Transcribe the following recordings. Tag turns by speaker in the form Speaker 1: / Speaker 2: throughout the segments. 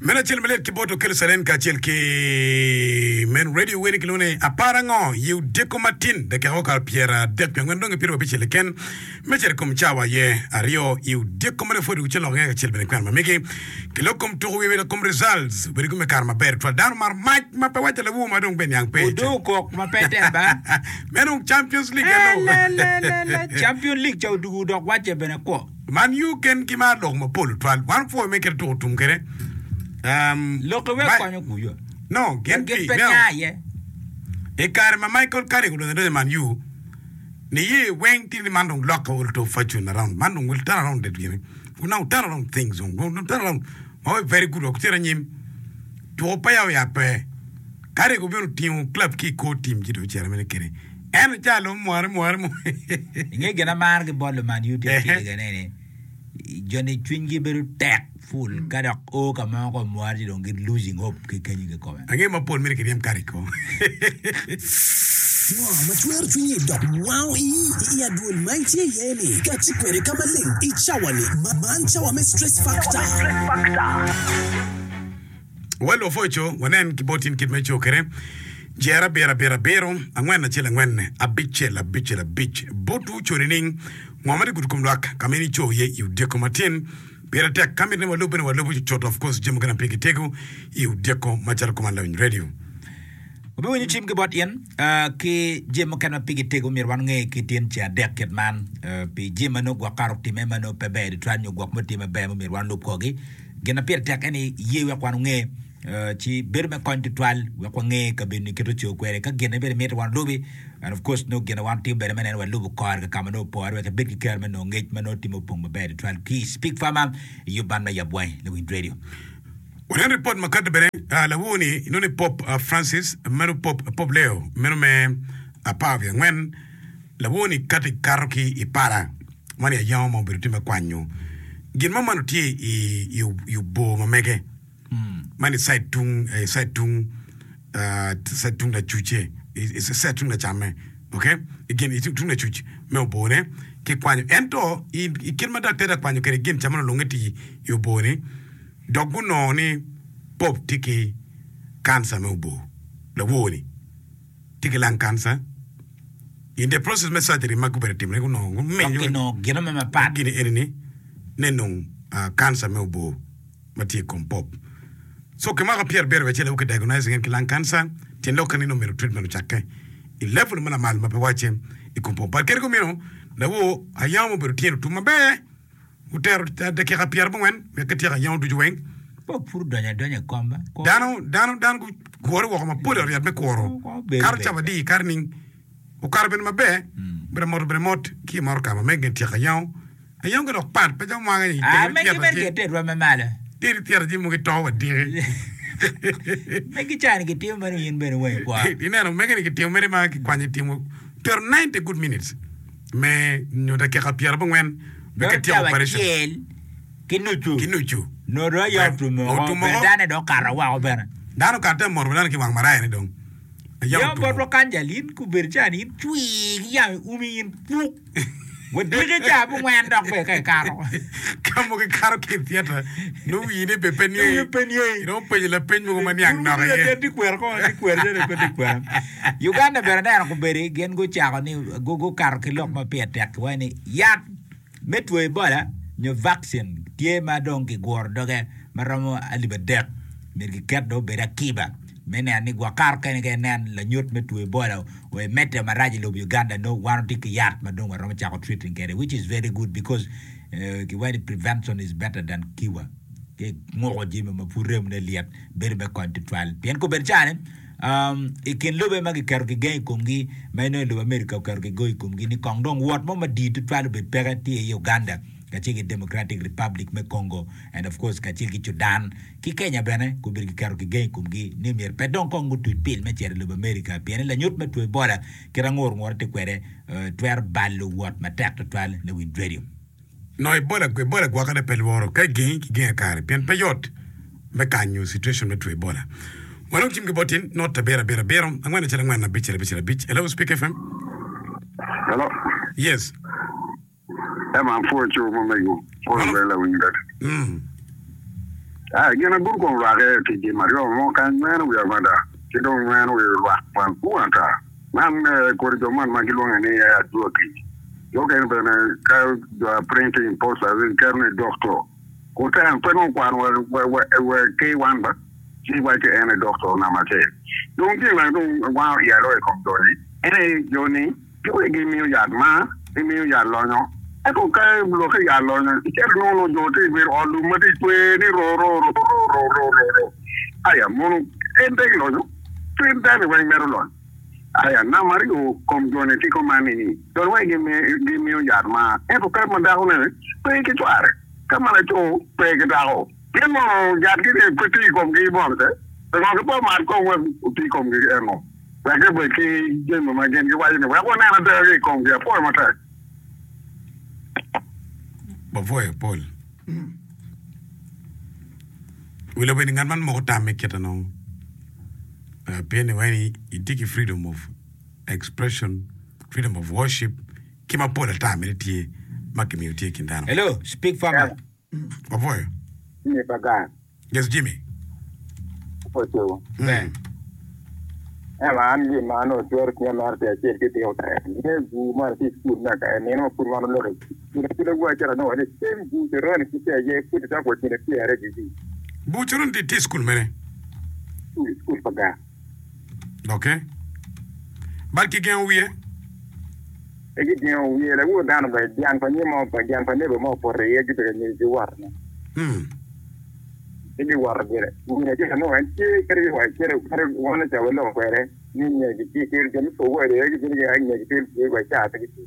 Speaker 1: Meno acel malit ki bot Okello Salen kacel ki Men Radio weni kilwongo ni Apar Ango i odiko matin dakika okato 34 dong ipito wabicel keken me cito i kom cawa aye aryo i odiko ma dong pwod wucel lok nge kacel bene kwena ma megi ki lok kom tuko wiye kom results obedo gin me kare maber twal dano mar mac ma pe waco lawu ma dong be niang pe
Speaker 2: Odo kok ma pe tek ba.
Speaker 1: Meno Champions League eno.
Speaker 2: Elelelele, Champion League ca odugu dok wacce bene kwo.
Speaker 1: Man U gen ki mar lok mapol tutwal. Wan opwoyo me kite tuko tum kede.
Speaker 2: Um, Lokke wek konyo kuyo.
Speaker 1: No, gin
Speaker 2: pi, pe nya iye.
Speaker 1: I kare ma Michael Carrick odonyo adonya Man U, niye weng tye ni man dong lokke will to fortune around. Man dong will turn around that gini. We now turn around things. We turn around. Ma we very good. Wakutira nyim. Tuko pa ya oyape. Carrick obino tingo club ki i kor team ci dong ocito mene kede. En ocalo mware mware mware.
Speaker 2: Inge gin amaro ki bot luman U tye acel kene ni joni cwinygi bedo tek full ka dok o ka mo ka omware ci dong gi losing hope ki kenyo kikome.
Speaker 1: Ange mapol mito kiryem Carrick o.
Speaker 3: Ngo ma cwero cwinyi dok wango ii i adwol ma itye iye-ni? Kati kwede ka maleng i cawa-ni. Man cawa me Stress Factor.
Speaker 1: Wa lwopwoco wanen ki bot in kit ma ico kwede. Jer abiro abiro abiro, angwen acel angwen, abicel abicel abic. Botwu oco nining? Ngo ma tye gudo kom lwak ka ma in ico iye i odyeko matin? Pire tek ka mitte ni walub bene walubo cucut of course jami mukene ma pigi tego i odyeko macalo kuman lawiny radio.
Speaker 2: Wabiwinyo cim ki bot in ki jami mukene ma pigi tego myero wan onge ki tin ceng adek kit man pi jami ma nongo gwok kare otime ma nongo pe ber tutwal nyo gwok ma otime maber ma myero wan olub korgi. Gin ma pire tek en ni ye wek wan onge ci bedo me kony tutwal wek wange kabedo-ni kit oco kwede. Ka gin-ni bene miti wan olubi and of course nongo gin ma wan timo bene me neno walubo kore ka ma nongo opore wek ibed ki kero me nongo ngec ma nongo timo opong maber tutwal ki i Speak Farmer i yub man me Yab Wangi Lawiny Radio.
Speaker 1: Wanen ripot ma kati bene lawor-ni inongo ni Pope Francis meno Pope Pope Leo meno me apar wiye angwen lawor-ni kati kato ki i pala man aye ayango ma obedo tye me kwanyo gin mo man tye i obor ma mege man i cide tung i cide tung cide tung lacuce i cide tung lacamme ok i gin i tung lacuc me obor-ne ki kwanyo ento i kit ma daktar tye ka kwanyo kwede gin ca ma onongo tye i obor-ni dok gunongo ni pop tye ki kanca me obor lawor-ni. tye ki lung cancer in the process me surgery ma gubedo timone gunongo
Speaker 2: Dok gumenyo kinongo gino me mapat.
Speaker 1: gini eni ni ne nong ah, cancer me obor ma tye i kom pop so kimako pyerabiro wiye acel aye ki diagnosing en ki lung cancer tyen lokke ni nongo myero treatment ocakke i level ma lamal ma pe wacce i kom pop but kadi kumeno lawor ayam obedo tye otum maber Otero dakika pyerabongwen wek kityek ayango ducu weng.
Speaker 2: Pe opur donyo adonya i kom ba.
Speaker 1: Dano, dano, dano gugure woko mapol i ot yat me kuro. Kato cawa adi, kato ning. Okato bene maber, obedo moto bene mot ki i motoka ma mege tyeko ayango. Ayango ki dok pat, pe calo mwange ni
Speaker 2: Ah, megi bene gitye i rwom me malo.
Speaker 1: Teri tyero jami mogo ito wa diki.
Speaker 2: Megi cani gitimo meno in bene wa ikwo.
Speaker 1: Ineno, mege ni gitimo mere ma kikwanyo itimo tero 90 good minutes. me nyo dakika pyerabongwen me
Speaker 2: Dong
Speaker 1: ka tyeko
Speaker 2: cawa
Speaker 1: operation
Speaker 2: acel ki nucu.
Speaker 1: ki nucu.
Speaker 2: Nongo dong aye otum oko,
Speaker 1: Otum
Speaker 2: bene
Speaker 1: oko.
Speaker 2: dane dong okato woko bene.
Speaker 1: Dano okato te moto dano ki wang maraya ni dong aye
Speaker 2: Yam
Speaker 1: otum
Speaker 2: botwa
Speaker 1: oko.
Speaker 2: kany jal in kobedo ca ni in cwir ki yamo i umi in puk. Wadiki ca abongwen dok bene ka ikato.
Speaker 1: Ka mogo ikato ki i theatre nongo wii ni bene pe niye.
Speaker 2: Wiye pe niye.
Speaker 1: Inongo penyo lapeny mogo ma niang nok iye.
Speaker 2: Tye kwera kong tye kwera joni pe tye kwera. Uganda bene aneno kombeddi gin gucako ni gukato ki lok ma pire tek giwaco ni yat me two Ebola nyo vaccine tye ma dong kiguro doge ma romo alip adek myero kiket dong obed akiba me neno ni gwok kato kene ka inen lanyut me two Ebola wa imedde marac i lobo Uganda nongo wan watye ki yat ma dong waromo cako treating kwede which is very good because giwaco ni prevention is better than cure ki nguko jami ma pud remone lyet bedo me kony tutwal pien kobedo cani I kin lobe ma giketo kigeng i komgi, ma inongo i lobo Amerika oketo kigong i komgi ni kong dong wot mo madit tutwal obed peke tye i Uganda kacel ki Democratic Republic me Congo and of course kacel ki Sudan ki Kenya bene gubedo giketo kigeng i komgi ni myero pe dong kong gutuc pil me cito i lobo Amerika pien ni lanyut me two Ebola kit angur ngure tye kwede twero balo wot matek tutwal lawiny radio.
Speaker 1: Nongo Ebola, Ebola gwokone pe lworo ka igengi ki genga kare pien pe yot me kanyo situation me two Ebola. Wanong cim ki bot in not abiro abiro abiro angwen acel angwen abicel abicel abic. Hello Speak FM.
Speaker 4: Hello.
Speaker 1: Yes.
Speaker 4: Ema apwoyo cuk ma mego. Pwoyo bene lawiny bene.
Speaker 1: Mm.
Speaker 4: Aa, gin agudo kom rwake ki jami aryo mo kany nyweno wiya mada, ki dong nyweno wi lwak madwong ata. Man kodi jo man ma gilwonge ni adwogi. Jo okene bene ka jo a printing posters giketo ni doctor. Oteno pe nongo okwano wa K1 ba, ci iwaco en aye doctor namba acel. Dong gin ma dong wango iya loyo i kom jo-ni en aye jo-ni Jogi gimiyo yat mar, gimiyo yat lonyo. Ento ka lokke yat lonyo, icito inongo nongo jo tye ka bedo i ot lum ma tye ka cwer ni ro ro ro ro ro ro ro ro. Aya, mono en pe gilonyo? Cwiny dano weng mito lonyo. Aya, namba aryo, kom joni tye kuman ni, joni weng gimiyo yat mar, ento ka ma dakone pe ki cware, ka ma laco pe ki dako, pien mono yatgi-ni pe tiyo i komgi mono ce? Pingo pe omat kong wek oti i komgi eno? Wek gibed ki jami ma gin giwaco ni, 'Wek wanen ada ki i komgi. Apwoyo matek.
Speaker 1: Wapwoyo pol. Wi lobo eni ngat man moko tamme kite nongo pien ni wai itye ki freedom of expression, freedom of worship ki mapol ata mere tye ma kimiyo tye i kin dano.
Speaker 2: Hello, speak farmer.
Speaker 1: Wapwoyo.
Speaker 5: Jimmy Bagan.
Speaker 1: Yes Jimmy.
Speaker 5: Ocobo.
Speaker 1: Mm.
Speaker 5: Ema an gin ma anongo cwero cwinya mere tye acel ki tiko tek. Nge bur mo tye i cukul me aka nino ma pud wan oloko i cukul pud agur acito anongo ni same bur coron pud tye aye pud icako wa kine pyere gigi.
Speaker 1: Bur coron tye i cukul mene?
Speaker 5: I cukul pa gang.
Speaker 1: Ok. Bal kigengo wiye?
Speaker 5: Pe gigengo wiye lawor dano bene dyang pa nyo mo pa dyang pa nebo mo opoto iye gibedo nyo giwoto ne. Ci giwoto gire. Wun acel anongo en tye kadi wa cito kadi wan oca waloko kwede ni nyo gitye ki jo me pur iye gibino gi nyo gitye ki wa ca pe gitye.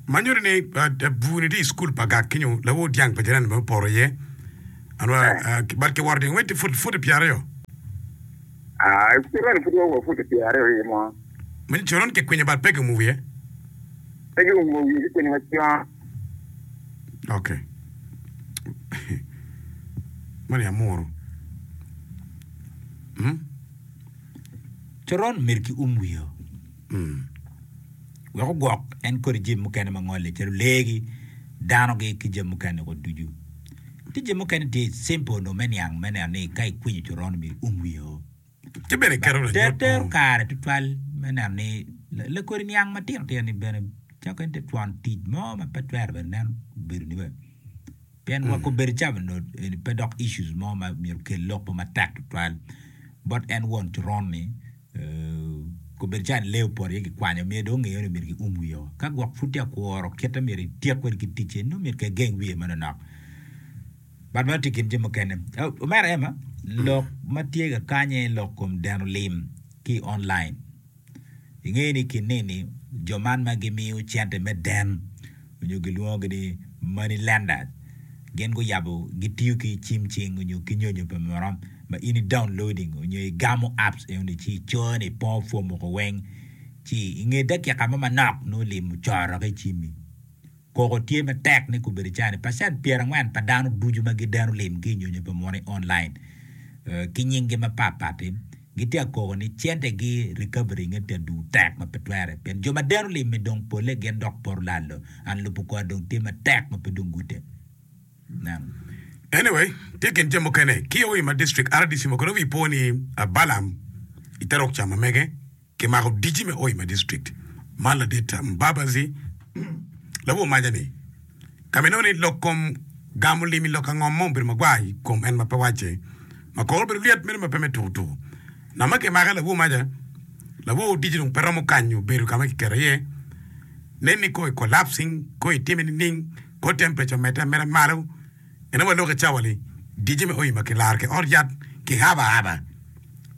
Speaker 1: Ma nyuto ni bur-ni tye i cukul pa gak kenyo lawor dyang pa jirani bene opoto iye. Anwa but kiwoto dyang weng tye futi pyeraryo.
Speaker 5: Aa, coron pud wa wa futi pyeraryo iye mo.
Speaker 1: Ma ni coron kikwinyo but pe giumo wiye.
Speaker 5: Pe giumo wiye gikwinyo macon.
Speaker 1: Ok. Mani amuru. Hmm?
Speaker 2: Coron myero ki um wiye.
Speaker 1: Mm.
Speaker 2: Wek ogwok en kodi jami mukene ma ngole calo leegi, danogi ki jami mukene woko ducu. Tye jami mukene tye simple onongo me niang me neno ni ka ikwinyo coron myero ium wiye o.
Speaker 1: Ci bene iketo
Speaker 2: But ter
Speaker 1: lanyut
Speaker 2: tero
Speaker 1: mo.
Speaker 2: kare tutwal me neno ni lakodi niang matino tino ni bene cako en te twon tic mo ma pe twero bene neno obedo ni bene pien wa kobedo cawa onongo eni pe dok issues mo ma myero okel lok mo matek tutwal bot en won coron ni Kobedo calo ni lee opoto iye kikwanyo myero dong ongeyo ni myero kium wiye o. Ka gwok pud tye ka kuro kite myero ityek kwede ki ticce nongo myero kegeng wiye manonok. But meno tye i kin jami mukene. Omera Emma, lok ma tye ka kanye lok kom deno lim ki i online. Ingeyo ni i kin nini jo man ma gimiyo cente me den onyo gilwongogi ni money lenders gin guyabo gitiyo ki cim cing onyo ki nyonyo pa muno ma in i downloading onyo igamo apps enoni ci icoyo ni ipongo form woko weng ci inge dakika mo manok nongo lim ocoro ki icimmi. Koko tye matek ni kobedo cani pacent pyerangwen pa dano ducu ma gideno lim ki i nyonyo pa muno i online ki nyinggi mapat pat-ti gitye ka koko ni centegi recovery nge tye adugu tek ma pe twere pien jo ma deno lim-mi dong polle gin dok poto lalo and lubo kor dong tye matek ma pe dong gute. Neno.
Speaker 1: Anyway, tye kin jami mukene ki i Hoima District, RDC mo kono wi po ni Balaam i te rok ca ma mege kimako dici me Hoima District man ladit Mbabazi lawor maca ni ka ma inongo ni lok kom gamo lim i lok angom mo obedo magwar i kom en ma pe wacce ma kore obedo lyet meno ma pe me tuku tuku ngat ma kimake lawor maca lawor dici dong pe romo kanyo bedo ka ma kiketo iye nen ni kong i collapsing kong itime nining kor temperature omedde ameda malo En aye waloko i cawa-ni, dice me oima kilaro ki ot yat ki aba aba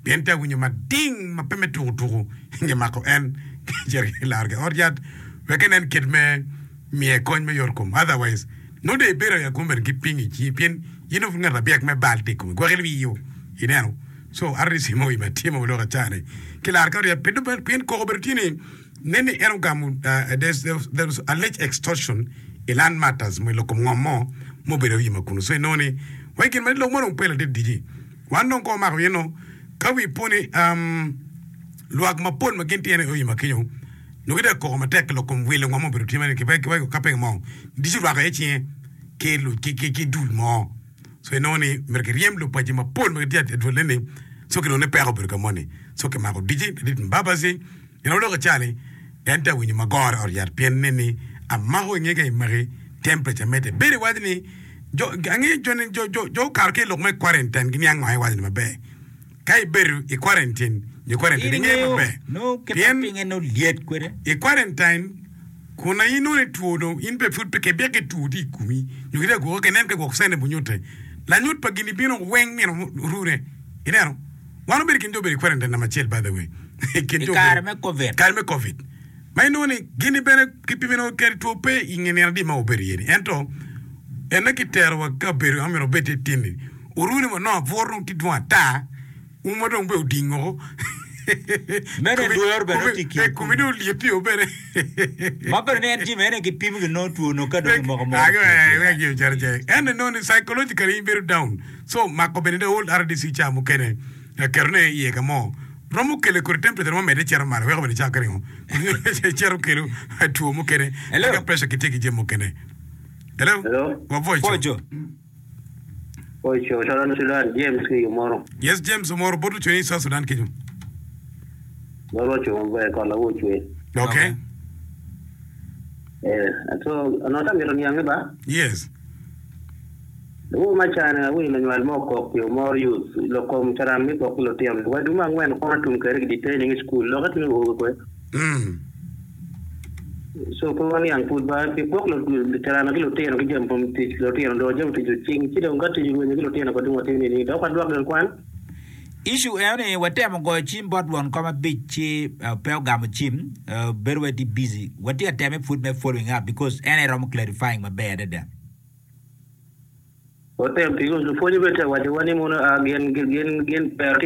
Speaker 1: pien tye awinyo mading ma pe me tuku tuku i nge mako en kicito kilaro ki ot yat wek enen kit me miye kony me yot kom otherwise nongo dong ibedo i akum bene ki ping i cingi pien in dong ngat abyek me bal tye i komi gwok ilwiyo ineno so RDC me oima tye ma waloko i cawa-ni kilaro ki ot yat pien koko obedo tye ni Nen ni en ogamo there was alleged extortion i land matters mo i lok kom ngom mo ma obedo i ma kunu so inongo ni wa i kin ma lok mo dong pe ladit dici wan dong ka wamako in no ka wi po ni lwak mapol ma gin tye i ma kenyo nongo gitye ka koko matek i lok kom wilo ngom ma obedo tye ma ki ka penge mo dici orwako iye cinge ki ki dul mo. So inongo ni myero kiryem lupaci mapol ma gitye adwolle ni so kinongo ni peko obedo ka moni. So kimako dici ladit Mbabazi gin ma lok ica ni en tye ka winyo magoro i ot yat pien nen ni amako inge ka imaki temperature medde. Bedo iwaco ni jo angeyo jo ni jo jo jo okato ki i lok me quarantine giniang ngo iwaco ni maber. Ka ibedo i quarantine nyo quarantine
Speaker 2: In
Speaker 1: ingeyo
Speaker 2: ingeyo
Speaker 1: maber
Speaker 2: nongo kit ma
Speaker 1: pien
Speaker 2: pinye nongo lyet kwede.
Speaker 1: i quarantine kun aye inongo ni two dong in pe pud pe kibik ki two tye i komi nyo kitye ka gwoki kinen ka gwok cene bunyute lanyut pa gini bino weng nino orune ineno wan obedo i kin jo obedo i quarantine namba acel by the way i kin
Speaker 2: I
Speaker 1: jo
Speaker 2: kare
Speaker 1: obedo
Speaker 2: me Covid.
Speaker 1: kare me covid ma inongo ni gini bene kipimo nongo kadi two pe i nge nino adi ma wabedo iye ni ento ene kitero wa kabedo ma myero wabed iye tin-ni Oruni wa nongo abwor dong tye dwong ata, umwa dong bene oding woko.
Speaker 2: Meno lworo bene nongo tye i kin
Speaker 1: Komi dong olyeti o bene.
Speaker 2: Ma bene ni en jami ene gipimo gi nongo two nongo ka dong imoko moko two tye.
Speaker 1: Wek jami calo cek. Ento inongo ni psychologically in bedo down. So mako bene the whole RDC ca mukene keto ne iye ka mo romo kelo kodi temperature mo medde cito malo weko bene cako ringo. Cito kelo two mukene.
Speaker 2: Hello.
Speaker 1: Ka pressure kitye ki jami mukene. Hello.
Speaker 6: Hello.
Speaker 1: Wa voice.
Speaker 2: Pojo.
Speaker 6: Oco Southern Sudan James ki Omoro.
Speaker 1: Yes James Omoro bot ocwe ni South Sudan kenyo.
Speaker 6: Bot oco maber kot lawu ocwe.
Speaker 1: Okay.
Speaker 6: Eh, so onongo ta mito niange ba?
Speaker 1: Yes.
Speaker 6: Lawu ma cane awinyo lanywal mo okok pi Omoro youth lok kom caran me kok ki lutino. Wa dwe me angwen kono tum kede ki detaining i school loke tye owobe kwe.
Speaker 1: Mm.
Speaker 6: So pe waniang pud ba pi gwok carana ki lutino ki jami kom tic lutino dong jami tic ocing ci dong ka tic orwenyo ki lutino ko dong watimo nini dok wadwok gin kwan.
Speaker 2: Issue eno ni watemo goyo cim bot won kom abic ci pe ogamo cim bedo wai tye busy watye ka teme pud me following up because en aye romo clarifying maber adada.
Speaker 6: Watem because lupwonye bene tye ka wacowa ni mono gin gin gin ber.